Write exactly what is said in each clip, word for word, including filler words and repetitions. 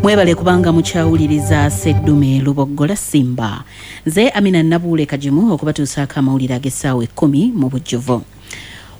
Mwebale kubanga mukyawuliriza Seddume Luboggola Simba. Nze Amina Nabuule Kagimu okubatuusaako amawulire ag'essaawa ekkumi mu bujjuvu.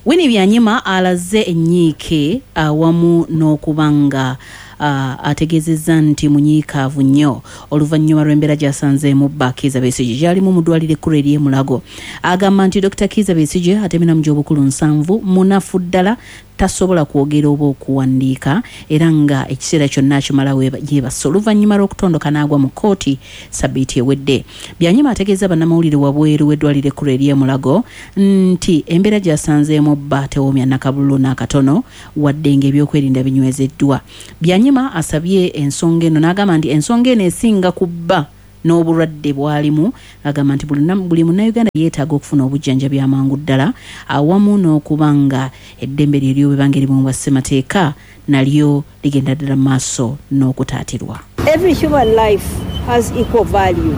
Winnie Byanyima alaze ennyiike awamu n'okuba nga uh, ategeezezza nti munyiikaavu nnyo oluvannyuma lw'embeera gy'asanzeemu bba Kizza Besigye gy'alimu mu ddwaliro ekkulu ery'e Mulago. Agamba nti Dokita Kizza Besigye atemera mu gy'obukulu nsanvu, munafu ddala, tasobola kwogera oba okuwandiika, era nga ekiseera kyonna akimala yeebase oluvannyuma lw'okutondoka n'agwa mu kkooti sabbiiti ewedde. Byanyima ategeeza bannamawulire wabweru w'eddwaliro ekkulu ery'e Mulago nti embeera gy'asanzeemu bba tewoomya nakabululu n'akatono, wadde ng'ebyokwerinda binywezeddwa. Byanyima asabye ensonga eno n'agamba nti ensonga eno esinga ku bba n'obulwadde bw'alimu. Agamba nti buli munnayuganda yeetaaga okufuna obujjanjabi amangu ddala, awamu n'okuba nga eddembe lye ery'obwebanga erimuweebwa ssemateeka nalyo ligenda ddala mu maaso n'okutaatirwa. Every human life has equal value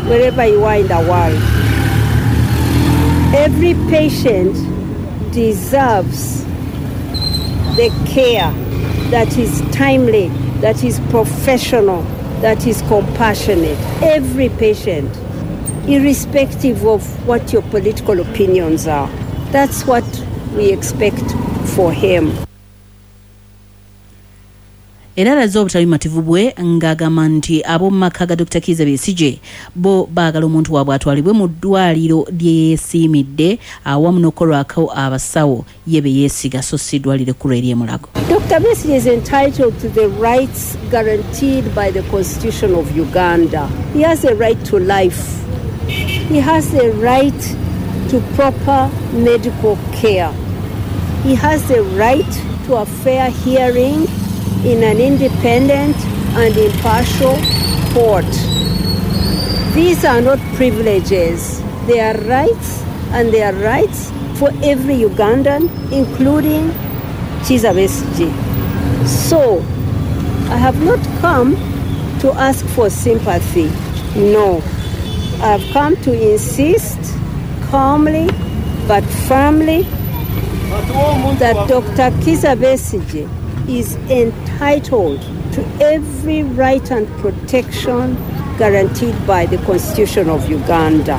wherever you are in the world. Every patient deserves the care that is timely, that is professional, that is compassionate. Every patient, irrespective of what your political opinions are. That's what we expect for him. Era alaze obutabimativu bwe ng'agamba nti ab'omu maka ga Dokita Kizza Besigye bo baagala omuntu waabwe atwalibwe mu ddwaliro lye yeesiimidde awamu n'okukolwako abasawo ye be yeesiga, so si ddwaliro ekkulu ery'e Mulago. Doctor Besigye is entitled to the rights guaranteed by the Constitution of Uganda. He has a right to life. He has a right to proper medical care. He has the right to a fair hearing in an independent and impartial court. These are not privileges. They are rights, and they are rights for every Ugandan, including Kizza Besigye. So, I have not come to ask for sympathy. No. I have come to insist calmly but firmly that Doctor Kizza Besigye is entitled to every right and protection guaranteed by the Constitution of Uganda.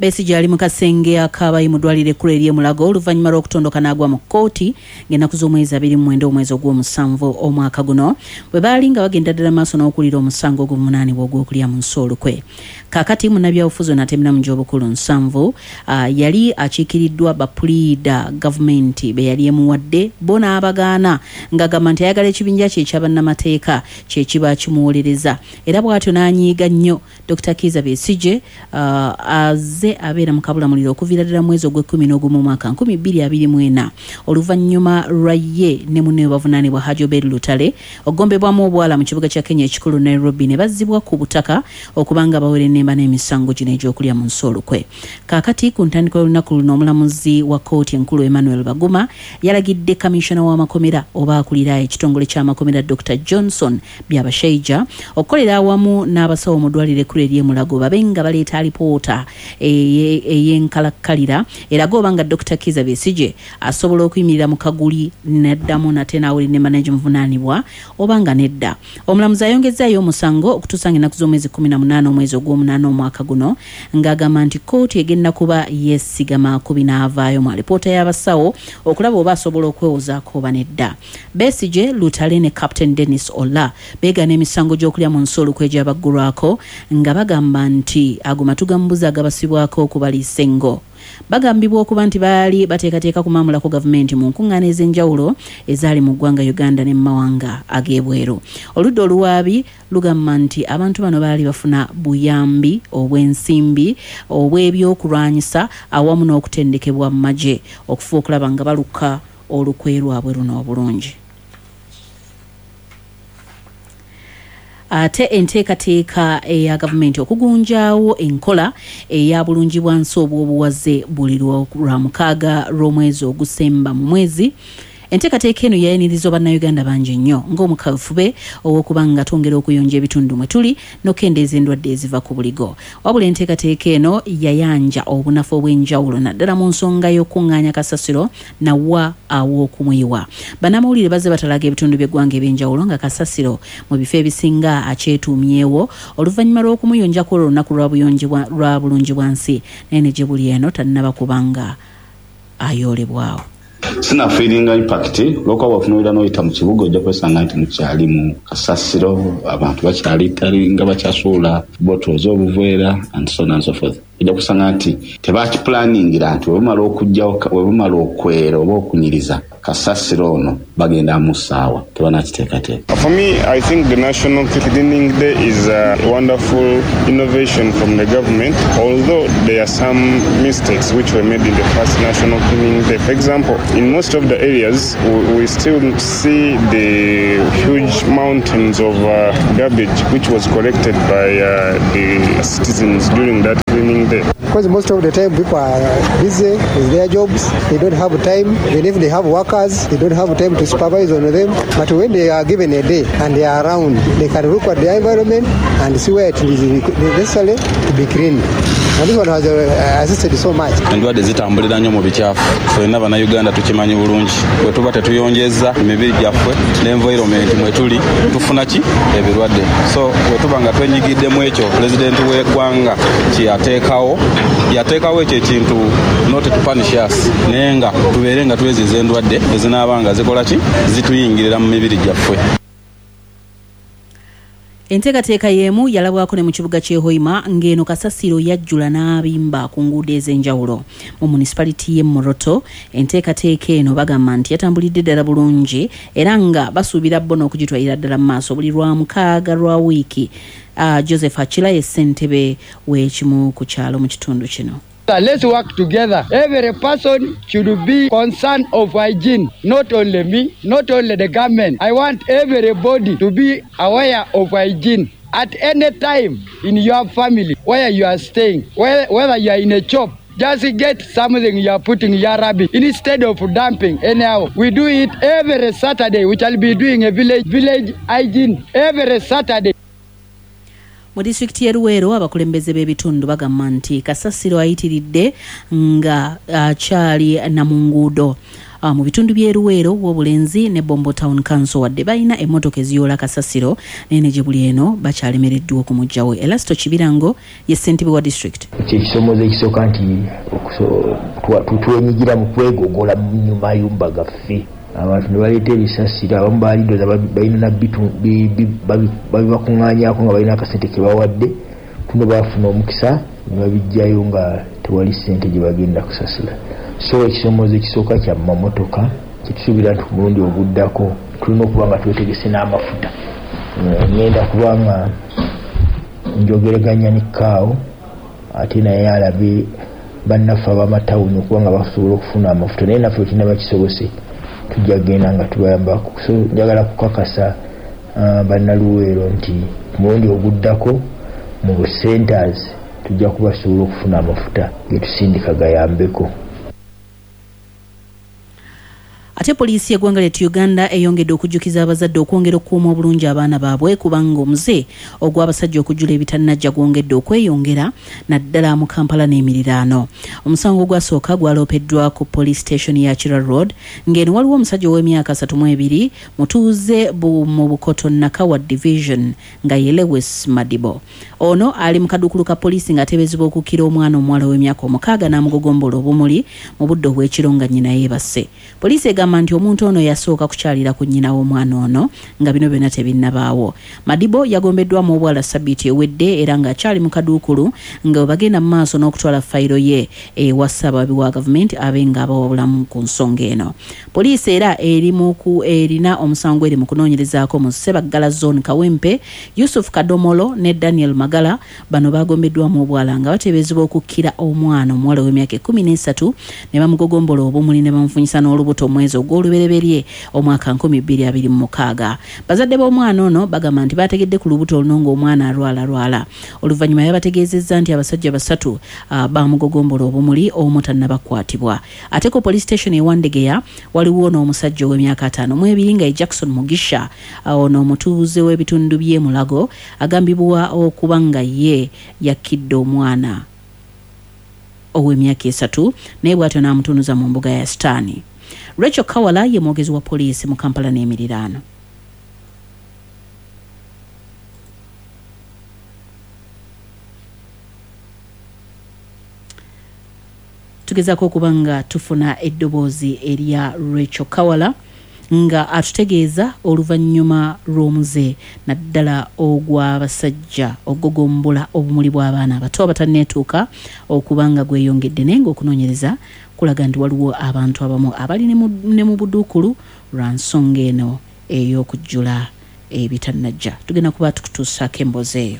Besigye ali mu kasenge akabayi mu ddwaliro ekkulu ery'e Mulago oluvannyuma lw'okutondoka n'agwa mu kkooti ng'ennaku z'omwezi abiri mu mwenda omwezi ogw'omusanvu omwaka guno, bwe baali nga bagenda ddala maaso n'okuwulira omusango ogw'obuvunaanibwa ogw'okulya mu nsi olukwe. Kaakati munnabyabufuzi ono atemera mu gy'obukulu nsanvu uh, yali akiikiriddwa bapuliida gavumenti be yali emuwadde, bo n'abagaana ng'agamba nti ayagala ekibinja kye ekyabannamateeka kye kiba kimuwolereza, era bw'atyo n'anyiiga nnyo. Dokita Kizza Besigye uh, azze abeera mu kabulamuliro okuviira ddala mwezi ogw'ekkumi n'ogumu omwaka nkumi bbiri abiri mu ena, oluvannyuma lwa ye ne munne we bavunaanibwa Hajji Obeid Lutale okugombebwamu obwala mu kibuga kya Kenya ekikulu Nairobi, ne bazzibwa ku butaka okubanga bawera ennemba n'emisango gino egy'okulya mu nsi olukwe. Kaakati ku ntandikwa y'olunaku luno, omulamuzi wa kkooti enkulu Emmanuel Baguma yalagidde kamishona w'amakomera oba akulira ekitongole ky'amakomera Dokita Johnson Byabashaija okukolera awamu n'abasawo mu ddwaliro ekkulu ery'e Mulago babe nga baleeta alipoota ey'enkalakkalira eraga oba nga Dokita Kizza Besigye asobola okuyimirira mu kaguli n'addamu nate n'awulira ennemba n'egimuvunaanibwa oba nga nedda. Omulamuzi ayongezzaayo omusango okutuusa ng'ennaku z'omwezi kkumi na munaana omwezi ogw'omunaana omwaka guno, ng'agamba nti kkooti egenda kuba yeesigama ku binaavaayo mu alipoota y'abasawo okulaba oba asobola okwewozaako oba nedda. Besigye, Lutale ne Captain Dennis Ola beegaana emisango gy'okulya mu nsi olukwe egyabaggulwako nga bagamba nti ago matu ga mbuzi agabasibwako okubaliisa engo. Bagambibwa okuba nti baali bateekateeka kumaamulako gavumenti mu nkuŋŋaana ez'enjawulo ezaali mu ggwanga Uganda ne mu mawanga ag'ebweru. Oludda oluwaabi lugamba nti abantu bano baali bafuna buyambi obw'ensimbi, obw'ebyokulwanyisa awamu n'okutendekebwa mu magye okufuba okulaba nga baluka olukwe lwabwe luno obulungi. Ate enteekateeka eya gavumenti okugunjaawo enkola eya bulungi bwa nsi obw'obuwaze buli lwa mukaaga lw'omwezi ogusemba mu mwezi Enteekateeka eno yayanirizibwa bannayuganda bangi nnyo ng'omukafube ow'okuba nga twongera okuyonja ebitundu mwe tuli n'okukendeeza endwadde eziva ku buligo. Wabula enteekateeka eno yayanja obunafu obw'enjawulo naddala mu nsonga y'okuŋŋaanya kasasiro nawa aw'okumuyiwa. Bannamawulire bazze batalaga ebitundu by'eggwanga eby'enjawulo nga kasasiro mu bifo ebisinga akyetuumyewo oluvannyuma lw'okumuyonjako olunaku lwa buyonji lwa bulungi bwa nsi, naye ne gye buli eno tannaba kubanga ayoolebwawo. Sina feelinga impact olwokuba bw'otunuulira n'oyita mu kibuga ojja kwesanga nti mukyali mu kasasiro, abantu bakyali tali nga bakyasuula bottles obuveera and so on and so forth. Ojja kusanga nti tebakipulaningira nti bwe bamala okuggyawo, bwe bamala okwera oba okunyiriza kasasiro ono bagenda mu ssaawa, tebanakiteekateeka. For me, I think the National Cleaning Day is a wonderful innovation from the government, although there are some mistakes which were made in the first National Cleaning Day. For example, in most of the areas, we, we still see the huge mountains of uh, garbage which was collected by uh, the citizens during that cleaning day. Because most of the time people are busy with their jobs, they don't have time. Even if they have workers, they don't have time to supervise on them. But when they are given a day and they are around, they can look at the environment and see where it is necessary to be cleaned. And this one has uh, assisted so much. Endwadde zitambulira nnyo mu bikyafu, ffenna Bannayuganda tukimanyi bulungi. Bwe tuba tetuyonjezza emibiri gyaffe n'environment mwe tuli, tufuna ki ebirwadde. So bwe tuba nga twenyigiddemu ekyo pulezidenti w'eggwanga kye yateekawo, yateekawo ekyo ekintu not to punish us, naye nga tubeere nga tweziza endwadde ezinaaba nga zikola ki zituyingirira mu mibiri gyaffe. Enteekateeka y'emu yalabwako ne mu kibuga ky'e Hoima ng'eno kasasiro yajjula n'abimba ku nguudo ez'enjawulo. Mu municipality y'e Moroto enteekateeka eno bagamba nti yatambulidde ddala bulungi era nga basuubira bo n'okugitwalira ddala mu maaso buli lwa mukaaga lwa wiiki. Uh, Joseph Achila ye ssentebe w'ekimu ku kyalo mu kitundu kino. Let's work together. Every person should be concerned of hygiene. Not only me, not only the government. I want everybody to be aware of hygiene at any time in your family, where you are staying, whether you are in a shop. Just get something you are putting your rubbish instead of dumping. Anyhow, we do it every Saturday. We shall be doing a village village hygiene every Saturday. Mu disitulikiti y'e Luweero abakulembeze b'ebitundu bagamba nti kasasiro ayitiridde nga akyali na mu nguudo. Mu bitundu by'e Luweero, Wobulenzi ne Bombo Town Council wadde balina emmotoka eziyoola kasasiro, naye ne gye buli eno bakyalemereddwa okumuggyawo. Elasto Kibirango ye ssentebe wa disitulikiti. Ekisomoozo ekisooka nti twenyigira mu kwegogola mu mayumba gaffe. Abantu ne baleeta ebisasiro, abamu baaliddoza balina babibakuŋŋaanyaako nga balina akasente ke bawadde, tuno baafuna omukisa ne babiggyayo nga tewali ssente gye bagenda kusasula. So ekisomoozo ekisooka kya mamotoka, kyetusuubira nti ku mulundi oguddako tulina okuba nga twetegese n'amafuta. Ngenda kuba nga njogereganya ne Kaawo ate naye alabe bannaffe ab'amatawuni okuba nga basobola okufuna amafuta, naye naffe wekinaba kisobose tujja kugenda nga tubayambako. So njagala kukakasa uh, bannaluweero nti ku mulundi oguddako mu centers tujja kubasobola okufuna amafuta getusindika gayambeko. Ate poliisi y'eggwanga lyattu Uganda eyongedde okujjukiza abazadde okwongera okukuuma obulungi abaana baabwe kubanga omuze ogw'abasajja okujjula ebitannajja gwongedde okweyongera naddala mu Kampala n'emiriraano. Omusango ogwasooka gwaloopeddwa ku police station ya Kira Road ng'eno waliwo omusajja ow'emyaka asatu mu ebiri mutuuze mu Bukoto Nakawa Division nga ye Lewis Madibo. Ono ali mu kaduukulu ka poliisi ng'ateeberezebwa okukkira omwana omuwala ow'emyaka omukaaga n'amugogombola obumuli mu budde obw'ekiro nga nnyina yeebase. Poliisi egamba nti omuntu ono yasooka kukyalira ku nnyina w'omwana ono nga bino byonna tebinnabaawo. Madibo yagombeddwamu obwala sabbiiti ewedde era ng'akyali mu kaduukulu nga bwe bagenda mu maaso n'okutwala fayiro ye ewa ssaabawabi wa gavumenti abe ng'abawabulamu ku nsonga eno. Poliisi era eri mu ku erina omusango eri mu kunoonyerezaako mu Ssebaggala Zone Kawempe, Yusuf Kadomolo ne Daniel Magala. Bano bagombeddwamu obwala nga bateeberezebwa okukkira omwana omuwala ow'emyaka ekkumi n'esatu ne bamugogombola obumuli ne bamufunyisa n'olubuto omwezi mwezi ogw'olubereberye omwaka nkumi bbiri abiri mu mukaaga. Bazadde b'omwana ono bagamba nti baategedde ku lubuto oluno ng'omwana alwalalwala. Oluvannyuma yabategeezezza nti abasajja basatu uh, baamugogombola obumuli omu tannabakwatibwa. Ate ku police station e Wandegeya waliwo n'omusajja ow'emyaka ataano mu ebiri nga ye Jackson Mugisha, ono omutuuze w'ebitundu by'e Mulago, agambibwa okuba nga ye yakkidde omwana ow'emyaka esatu naye bw'atyo n'amutunuza mu mbuga ya Sitaani. Rachel Kawala ye mwogezi wa poliisi mu Kampala n'emiriraano. Tugezaako okuba nga tufuna eddoboozi erya Rachel Kawala nga atutegeeza oluvannyuma lw'omuze naddala ogw'abasajja ogugombola obumuli bw'abaana abato abatanneetuuka okuba nga gweyongedde, naye ng'okunoonyereza kulaga nti waliwo abantu abamu abali ne mu buduukulu lwa nsonga eno ey'okujjula ebitannajja. Tugenda kuba tukutuusaako emboozi eyo.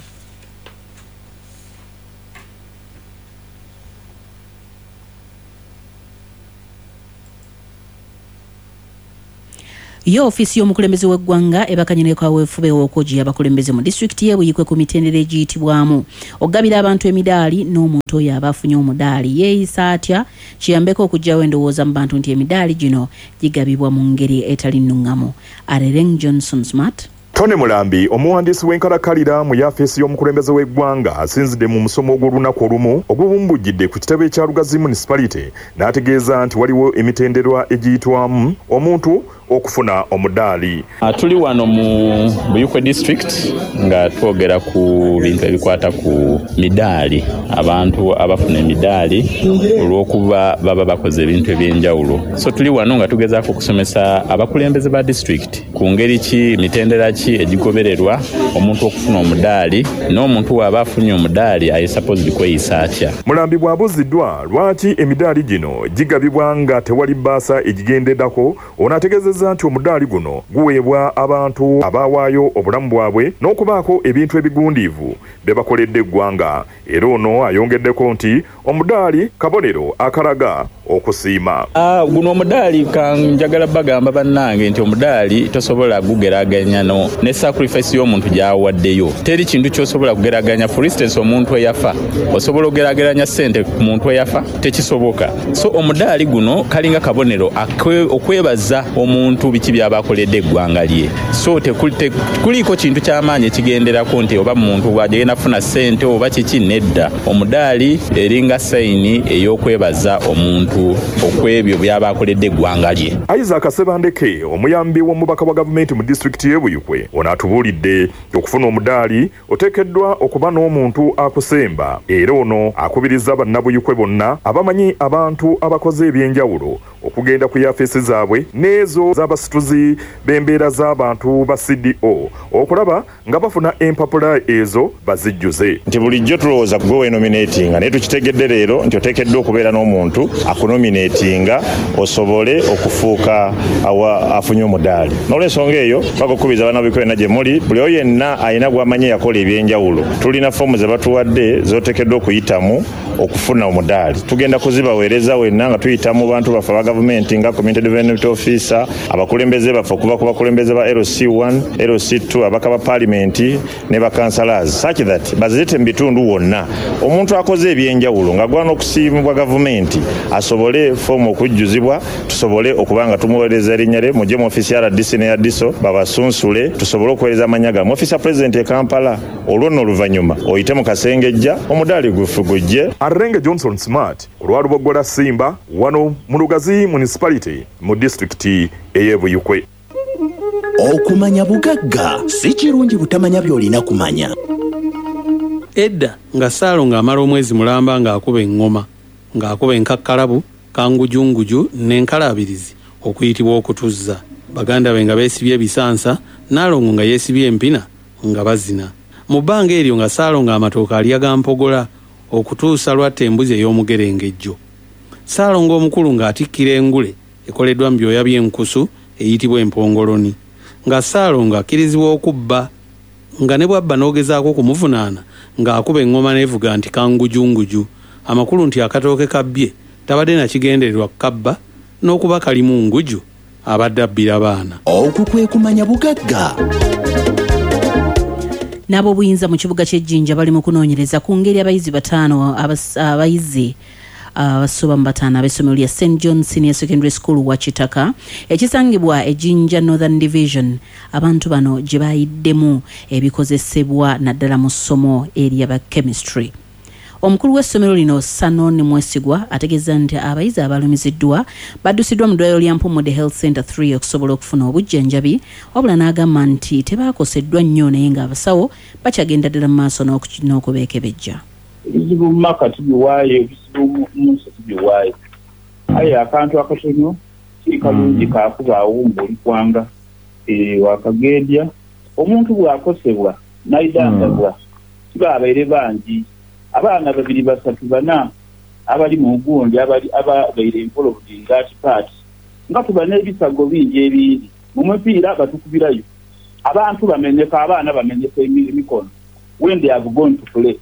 Yo ofiisi y'omukulembeze w'eggwanga ebakanye ne kaweefube w'okwogiya abakulembeze mu disitulikiti y'e Buikwe ku mitendera egiyitibwamu okugabira abantu emidaali n'omuntu oyo aba afunye omudaali yeeyisa atya kiyambeko okuggyawo endowooza mu bantu nti emidaali gino gigabibwa mu ngeri etali nnungamu. Arereng Johnson Smart. Tony Mulambi, omuwandiisi w'enkalakalira mu yafeesi y'omukulembeze w'eggwanga, asinzidde mu musomo ogw'olunaku olumu ogubumbujjidde ku kitebe kya Lugazi Municipality n'ategeeza nti waliwo emitendera egiyitwamu omuntu okufuna omudaali. Tuli wano mu Buikwe district nga twogera ku bintu ebikwata ku midaali, abantu abafuna emidaali olw'okuba baba bakoze ebintu ebyenjawulo. So tuli wano nga tugezaako okusomesa abakulembeze ba district ku ngeri ki, mitendera ki egigobererwa omuntu okufuna omudaali, n'omuntu w'aba afunye omudaali aye supposed kweyisa atya. Mulambi bw'abuuziddwa lwaki emidaali gino gigabibwa nga tewali bbaasa egigendeddako, ono ategeezezza nti omudaali guno guweebwa abantu abaawaayo obulamu bwabwe n'okubaako ebintu ebigundiivu bye bakoledde eggwanga. Era ono ayongeddeko nti omudaali kabonero akalaga okusiima. Ah, guno omudaali kanjagala bagamba bannange nti omudaali tosobola kugeraganya no ne sacrifice y'omuntu gy'awaddeyo. Teri kintu ky'osobola kugeraganya. For instance, omuntu eyafa osobola okugeraageranya ssente ku muntu eyafa? Tekisoboka. So omudaali guno kalinga kabonero okwebaza omuntu biki by'aba akoledde eggwanga lye. So tekuliko kintu ky'amaanyi ekigenderako nti oba muntu bw'agenda kufuna ssente oba kiki, nedda. Omudaali eringa sayini ey'okwebaza omuntu okwebyo by'aba akoledde eggwanga lye. Isaac Sebandeke, omuyambi w'omubaka wa gavumenti mu disitulikiti y'e Buikwe, ono atubuulidde okufuna omudaali oteekeddwa okuba n'omuntu akusemba, era ono akubiriza bannabuyikwe bonna abamanyi abantu abakoze ebyenjawulo okugenda ku yafeesi zaabwe n'ezo z'abasituzi b'embeera z'abantu ba C D O okulaba nga bafuna empapula ezo bazijjuze. Nti bulijjo tulowooza gwe weenominatinga, naye tukitegedde leero nti oteekeddwa okubeera n'omuntu akunominatinga osobole okufuuka afunye omudaali. N'olwensonga eyo bakukubiriza bannabuyikwe bonna gye muli, buli oyo yenna alina gw'amanyi yakola ebyenjawulo, tulina foomu ze batuwadde z'oteekeddwa okuyitamu okufuna omudaali. Tugenda kuzibaweereza wenna nga tuyita mu bantu baffe aba gavumenti nga community development officer, abakulembeze baffe okuva ku bakulembeze ba L C one, L C two, ababaka ba paalimenti ne bakansalas, such that bazirete mu bitundu wonna omuntu akoze ebyenjawulo ng'agwana okusiimibwa gavumenti asobole foomu okujjuzibwa, tusobole okuba nga tumuweereza erinnya lye. Mujje mu ofiisi ya R D C ne ya D S O babasunsule tusobole okuweereza amannya gammwe. Ofiisi ya pulezidenti e Kampala, olwo nno oluvannyuma oyite mu Kasengejja omudaali gufu gujje. Arenge Johnson Smart ku lwa Luboggola Simba wano mu Lugazi Municipality mu disitulikiti ey'e Buikwe. Okumanya bugagga si kirungi butamanya by'olina kumanya. Edda nga Ssaalongo amala omwezi mulamba ng'akuba eŋŋoma, ng'akuba enkakkalabu, kangujunguju n'enkalaabirizi okuyitibwa okutuzza. Baganda be nga beesibye ebisansa, Nnaalongo nga yeesibye empina nga bazina. Mu bbanga eryo nga Ssaalongo amatooke alya ga mpogola okutuusa lw'atta embuzi ey'omugerengejjo. Ssaalongo omukulu ng'atikkira engule ekoleddwa mu byoya by'enkusu eyitibwa empongoloni. Nga Ssaalongo akkirizibwa okubba, nga ne bw'abba n'ogezaako okumuvunaana ng'akuba eŋŋoma n'evuga nti kangujunguju, amakulu nti akatooke kabbye tabadde na kigendererwa kukabba n'okuba kalimu nguju Abadde abbira baana. Okwo kwe kumanya bugagga. N'ab'obuyinza mu kibuga ky'Ejjinja bali mu kunoonyereza ku ngeri abayizi bataano abayizi abasoba mu bataano ab'essomero lya Saint John Senior Secondary School wa Kitaka ekisangibwa e Jinja Northern Division, abantu bano gye bayiddemu ebikozesebwa naddala mu ssomo eryaba chemistry. Omukulu w'essomero lino Sanon Mwesigwa ategeeza nti abayizi abalumiziddwa baddusiddwa mu ddwaliro lya Mpumudde Health Center three okusobola okufuna obujjanjabi, wabula n'agamba nti tebaakoseddwa nnyo naye ng'abasawo bakyagenda ddala mu maaso n'okubeekebejja. Ebizibu mu maka tubiwaayo, ebizibu mu nsi tubiwaayo, aye akantu akatono si kalungi kakubaawo ng'oli kwanga wakagendya. Omuntu bw'akosebwa n'ayidandabwa kibabaire bangi, abaana babiri basatu bana abali mu gundi abali ababeire involved in that part, nga tuba n'ebisago bingi ebindi mu mupiira batukubirayo abantu bamenyeka, abaana bamenyeka emikono when they have gone to play.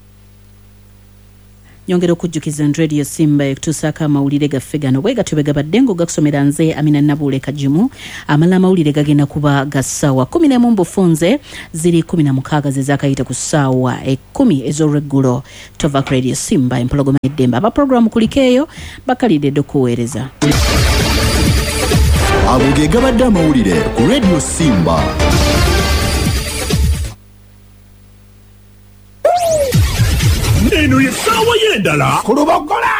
Nyongera okujjukiza nti Radio Simba ekutuusaako amawulire gaffe gano bwe gatyo bwe gabadde ng'ogakusomera nze Amina Nabuule Kagimu. Amala amawulire gagenda kuba ga ssaawa kkumi n'emu mbufunze ziri kkumi na mukaaga ze zaakayita ku ssaawa ekkumi ez'olweggulo. Tova ku Radio Simba, empologoma y'eddembe. Aba pulogulaamu kuliko eyo bakalidde dde okuweereza. Ago ge gabadde amawulire ku Radio Simba. Eno ye ssaawa y'endala ku Lubogola.